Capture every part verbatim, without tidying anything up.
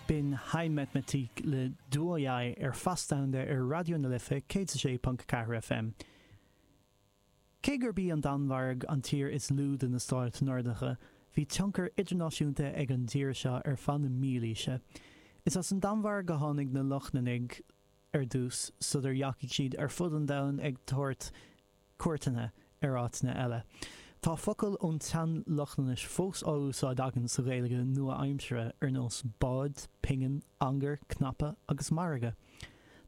B'in High Mathematik le Du og Jeg ar Fás Domhanda ar Raidió na Life céad sé ponc ceathair FM. Cé gurb í an Danmhairg an tír is lú de na stáit Nordacha, bhí tionchar idirnáisiúnta ag an dtír seo ar feadh na mílaoise. Is as an Danmhairg a tháinig na Lochlannaigh ar dtús sular dheachaigh siad ar fud an domhain ag tabhairt cuairteanna ar áiteanna eile. Tá focail ón tsean-Lochlainnis fós á úsáid againn sa Ghaeilge nua-aimseartha ar nós bád, pingin, angar, cnaipe agus margadh.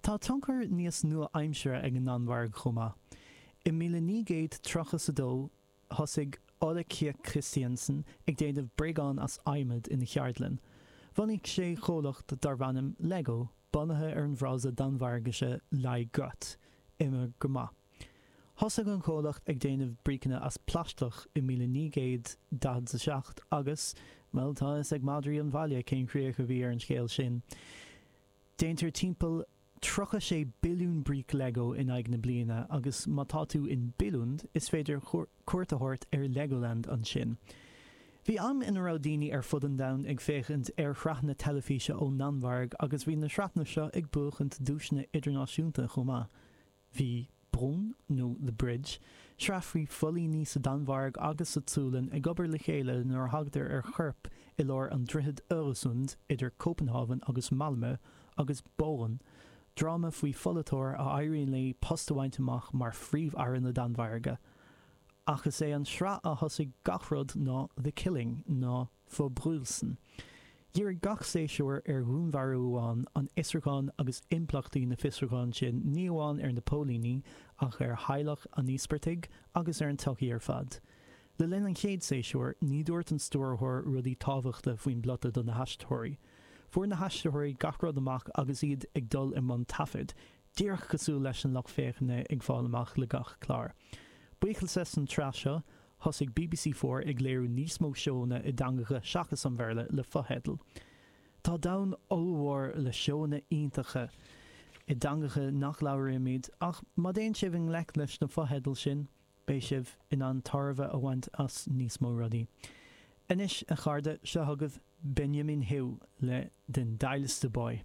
Tá tionchar níos nua-aimseartha ag an Danmhairg chomh maith. I míle naoi gcéad tríocha is a dó thosaigh Ole Kirk Christiansen ag déanamh bréagán as adhmad ina cheardlann. Bhunaigh sé comhlacht darb ainm Lego, bunaithe ar an bhfrása Danmhairgise leg godt, imir go maith. Thosaigh an comhlacht ag déanamh bríceanna as plaisteach i míle naoi gcéad daichead a seacht agus, bhuel, tá a fhios ag madraí an bhaile cén chríoch a bhí ar an scéal sin. Déantar timpeall tríocha sé billiún bríc Lego in aghaidh na bliana agus má tá tú in Billund is féidir cuairt a thabhairt ar Legoland ansin. Bhí am ina raibh daoine ar fud an domhain ag féachaint ar shraitheanna teilifíse ón nDanmhairg agus bhí na sraitheanna seo ag buachaint duaiseanna idirnáisiúnta chomh maith. Bhí Broen nó The Bridge, sraith faoi phoilíní sa Danmhairg agus sa tSualainn ag obair le chéile nuair a thagtar ar chorp i lár an droichid Øresund idir Cópenhávan agus Malmö, agus Borgen, dráma faoi pholaiteoir a éiríonn léi post a bhaint amach mar phríomh-aire na Danmhairge. Ach is é an sraith a thosaigh gach rud ná The Killing nó Forbrydelsen. Dhírigh gach séasúr ar dhúnmharú amháin, an fhiosrúchán agus impleachtaí na fiosrúchán sin ní amháin ar na póilíní ach ar theaghlach an íospartaigh agus ar an tsochaí ar fad. Le linn an chéad séasúr, ní dúirt an stiúrthóir rudaí tábhachtacha faoin bplota do na haisteoirí. Fuair na haisteoirí gach rud amach agus iad ag dul i mbun taifid, díreach cosúil leis an lucht féachana ag fáil amach le gach clár. Buíochas leis an tsraith seo, thosaigh BBC Four ag léiriú níos mó seónna i dteangacha seachas an Bhéarla le fotheidil. Tá domhan ollmhór le seónna iontacha i dteangacha nach labhraímid ach má théann sibh i ngleic leis na fotheidil sin, beidh sibh in ann tairbhe a bhaint as níos mó rudaí. Anois a chairde seo chugaibh Benjamin Hugh le Den Dejligste By.